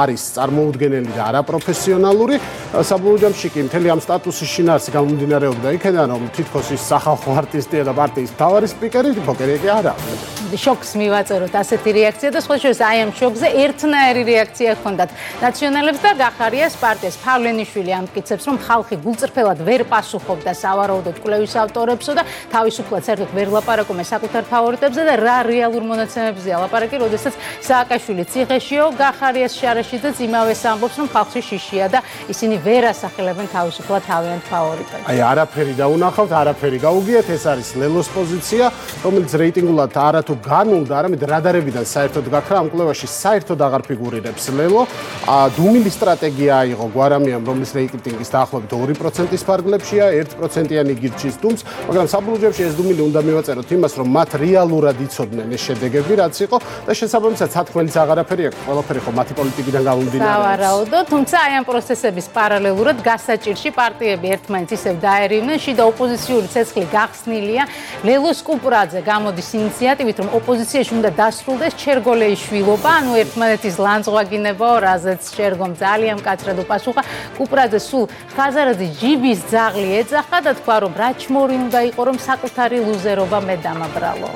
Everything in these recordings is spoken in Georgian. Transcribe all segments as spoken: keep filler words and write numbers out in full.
არის წარმოუდგენელი და არაპროფესიონალური. საბოლოო ჯამში კი მთელი ამ სტატუსის შინაარსი გამომდინარეობდა იქიდან, რომ თითქოს ის სახალხო არტისტია და პარტიის მთავარი სპიკერი, ფოკერი კი არა. შოკს მივაწეროთ ასეთი რეაქცია და სხვა შორის აი ამ შოკზე ერთნაირი რეაქცია ჰქონდათ ნაციონალებს და გახარიას პარტიას. ფავლენიშვილი ამტკიცებს, რომ ხალხი გულწრფელად ვერ პასუხობდა სავარაუდოდ კვლევის ავტორებსო და თავისუფლად საერთოდ ვერ ლაპარაკობენ საკუთარ ფავორიტებზე და რა რეალურ მონაცემებზეა ლაპარაკი, როდესაც სააკაშვილი ციხეშიო, გახარიას შარაშიძეც იმავეს ამბობს, რომ ხალხში შიშია და ისინი ვერ ასახელებენ თავისუფლად თავიანთ ფავორიტებს. აი არაფერი დაუნახავთ, არაფერი გაუგიათ, ეს არის ლელოს პოზიცია, რომელიც რეიტინგულად არათუ განულდა, არამედ რადარებიდან საერთოდ გაქრა ამ კვლევაში საერთოდ აღარ ფიგურირებს ლელო. დუმილი სტრატეგია აიღო გვარამიამ, რომლის რეიტინგის დაახლოებით ორი პროცენტის ფარგლებშია, ერთ პროცენტიანი გირჩის დუმს, მაგრამ საბოლოო ჯამში ეს დუმილი უნდა მივაწეროთ იმას, რომ მათ რეალურად იცოდნენ ეს შედეგები, რაც იყო და შესაბამისად სათქმელიც აღარაფერი აქვს, ყველაფერი ხო მათი პოლიტიკიდან გამომდინარეობს. სავარაუდოდ, თუმცა აი ამ პროცესების პარალელურად გასაჭირში პარტიები ერთმანეთს ისევ დაერივნენ, შიდა ოპოზიციური ცეცხლი გახსნილია. ლელოს კუპრაძე გამოდის ინიციატივით, რომ ოპოზიციაში უნდა დასრულდეს ჩერგოლეიშვილობა, ანუ ერთმანეთის ლანძღვაგინებაო, რაზეც შერგომ ძალიან მკაცრად უპასუხა. კუპრაძე სულ ხაზარაძის ჯიბის ძაღლი ეძახა და თქვა, რომ რაჩმორი უნდა იყო, რომ საკუთარი ლუზერობა მე დამაბრალო.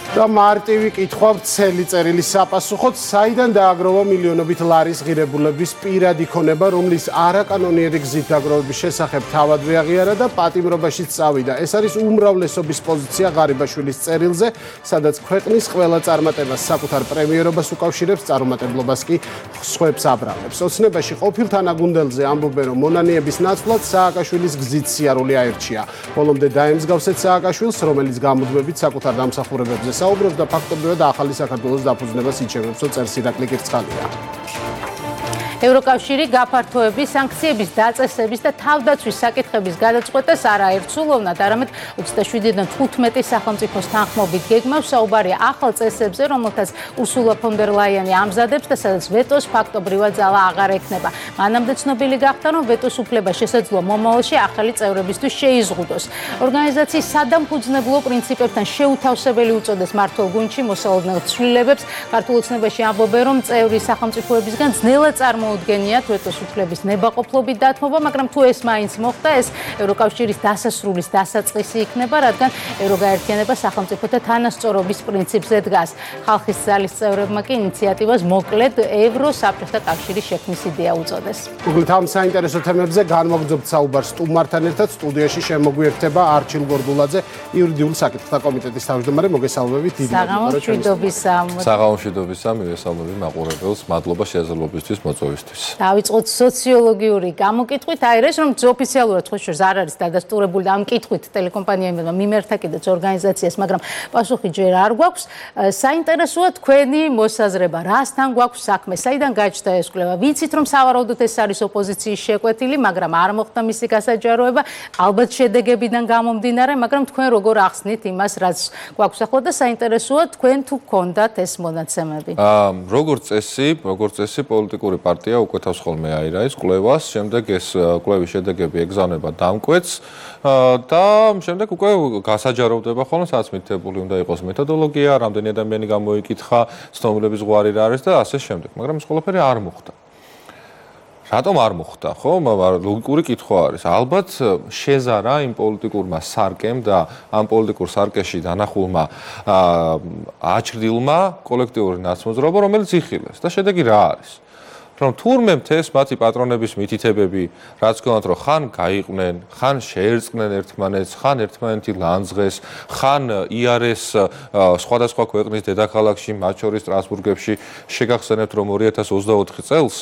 და მარტივი კითხვა ვრცელი წერილი საპასუხოდ, საიდან დააგროვა მილიონობით ლარის ღირებულების პირადი ქონება, რომლის არაკანონიერი გზით დაგროვების შესახებ თავადვე აღიარა და პატიმრობაშიც წავიდა. ეს არის უმრავლესობის პოზიცია ღარიბაშვილის წერილზე, სადაც ქვეყნის ყველა წარმატებას საკუთარ პრემიერობას უკავშირებს, წარუმატებლობას კი სხვებს აბრალებს. ოცნებაში ყოფილ თანაგუნდელზე ამბობენ, რომ მონანიების ნაცვლად სააკაშვილის გზით სიარული აერჩია. ბოლომდე დაემსგავსეთ სააკაშვილს, რომელიც გამუდმებით საკუთარ დამსახურებებზე საუბრობს და ფაქტობრივად ახალი საქართველოს დაფუძნებას იჩემებსო, წერს ირაკლი კირცხალია. ევროკავშირი გაფართოების, სანქციების დაწესების და თავდაცვის საკითხების გადაწყვეტას არა ერთსულოვნად, არამედ ოცდაშვიდიდან თხუთმეტი სახელმწიფოს თანხმობით გეგმავს. საუბარია ახალ წესებზე, რომელთაც ურსულა ფონ დერ ლაიანი ამზადებს და სადაც ვეტოს ფაქტობრივად ძალა აღარ ექნება. მანამდე ცნობილი გახდა, რომ ვეტოს უფლება შესაძლოა მომავალში ახალი წევრებისთვის შეიზღუდოს. ორგანიზაციის სადამფუძნებლო პრინციპებთან შეუთავსებელი უწოდეს მმართველ გუნდში მოსალოდნელ ცვლილებებს. ქართულ ოცნებაში ამბობენ, რომ წევრი სახელმწიფოებისგან ძნელად წარმოუდგენიათ ვეტოს უფლების ნებაყოფლობით დათმობა, მაგრამ თუ ეს მაინც მოხდა, ეს ევროკავშირის დასასრულის დასაწყისი იქნება, რადგან ევროგაერთიანება სახელმწიფოთა თანასწორობის პრინციპზე დგას. ხალხის ძალის წევრებმა კი ინიციატივას მოკლედ ევროსაფრთხთა კავშირის შექმნის იდეა უწოდეს. უგლით ამ საინტერესო თემებზე განვაგრძობთ საუბარს სტუმართან ერთად. სტუდიაში შემოგვიერთება არჩილ გორდულაძე, იურიდიულ საკითხთა კომიტეტის თავმჯდომარე. მოგესალმებით, დიდი მადლობა. საღამოშვიდობისა, მივესალმები მაყურებელს. მადლობა შესაძლებლობისთვის მოწვევისთვის. დავიწყოთ სოციოლოგიური გამოკითხვით. აი ეს რომ ოფიციალურად ხო შორს არ არის დადასტურებული და ამ კითხვით ტელეკომპანიებმა მიმერთა კიდეც ორგანიზაციას, მაგრამ პასუხი ჯერ არ გვაქვს. საინტერესოა თქვენი მოსაზრება, რასთან გვაქვს საქმე, საიდან გაჩნდა ეს კვლევა? ვიცით რომ სავარაუდოდ ეს არის ოპოზიციის შეკვეთილი, მაგრამ არ მოხდა მისი გასაჯაროება, ალბათ შედეგებიდან გამომდინარე, მაგრამ თქვენ როგორ ახსნით იმას, რაც გვაქვს ახლა და საინტერესოა თქვენ თუ გქონდათ ეს მონაცემები? აა, როგორც წესი, როგორც წესი პოლიტიკური პარტია უკვეთავს ხოლმე აირაის კვლევას, შემდეგ ეს კვლევის შედეგები ეგზავნება დამკვეთს და შემდეგ უკვე გასაჯაროვდება ხოლმე, სადაც მითითებული უნდა იყოს მეთოდოლოგია, რამდენი ადამიანი გამოიკითხა, ცნობილების ზღვარი რა არის და ასე შემდეგ, მაგრამ ეს ყველაფერი არ მოხდა. რატომ არ მოხდა, ხო? ლოგიკური კითხვა არის. ალბათ შეზარა იმ პოლიტიკურმა სარკემ და ამ პოლიტიკურ სარკეში დანახულმა აჩრდილმა კოლექტიური ნაცმოძრაობა, რომელიც იხილეს და შედეგი რა არის? რომ თურმე მთეს მათი პატრონების მითითებები, რაც გქონდათ, რომ ხან გაიყვნენ, ხან შეერწყნენ ერთმანეთს, ხან ერთმანეთი ლანძღეს, ხან იარეს სხვადასხვა ქვეყნის დედაქალაქში, მათ შორის სტრასბურგებში, შეგახსენებთ, რომ ორი ათას ოცდაოთხი წელს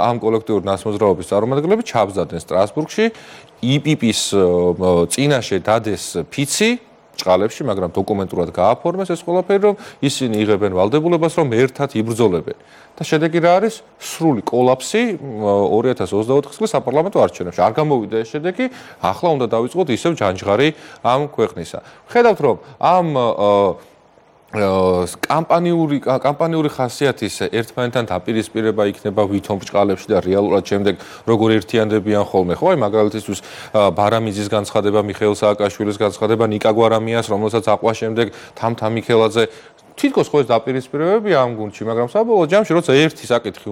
ამ კოლექტიური ნაცმოძრაობის წარმომადგენლები ჩაბზარდნენ სტრასბურგში, ი პი პის წინაშე დადეს ფიცი ჭყალებში, მაგრამ დოკუმენტურად გააფორმეს ეს ყველაფერი, რომ ისინი იღებენ ვალდებულებას, რომ ერთად იბრძოლებენ. და შედეგი რა არის? სრული კოლაფსი ორი ათას ოცდაოთხი წლის საპარლამენტო არჩევნებში. არ გამოვიდა ეს შედეგი, ახლა უნდა დავიწყოთ ისევ ჯანჯღარი ამ ქვეყნისა. ხედავთ, რომ ამ კამპანიური კამპანიური ხასიათის ერთმანეთთან დაპირისპირება იქნება ვითომ ბრჭყალებში და რეალურად შემდეგ როგორ ერთიანდებიან ხოლმე, ხო? აი მაგალითისთვის ბარამიძის განცხადება, მიხეილ სააკაშვილის განცხადება, ნიკა გვარამიას, რომელსაც აყვა შემდეგ თამთა მიქელაძე თითქოს ხო ეს დაპირისპირებები ამ გუნდში, მაგრამ საბოლოო ჯამში როცა ერთი საკითხი